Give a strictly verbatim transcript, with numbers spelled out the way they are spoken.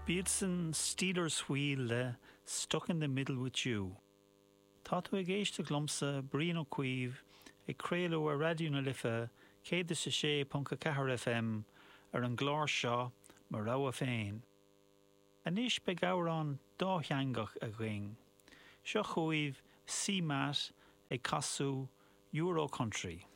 B'iad sin Stealers Wheel le Stuck in the Middle with You. Tá tú ag éisteacht liomsa Brian Ó Cuív ag craoladh ar Raidió na Life céad is a sé ponc a ceathair FM ar an gclár seo Mo Rogha Féin. Anois beidh amhrán dátheangach againn. Seo chugaibh CMAT ag casadh Euro Country.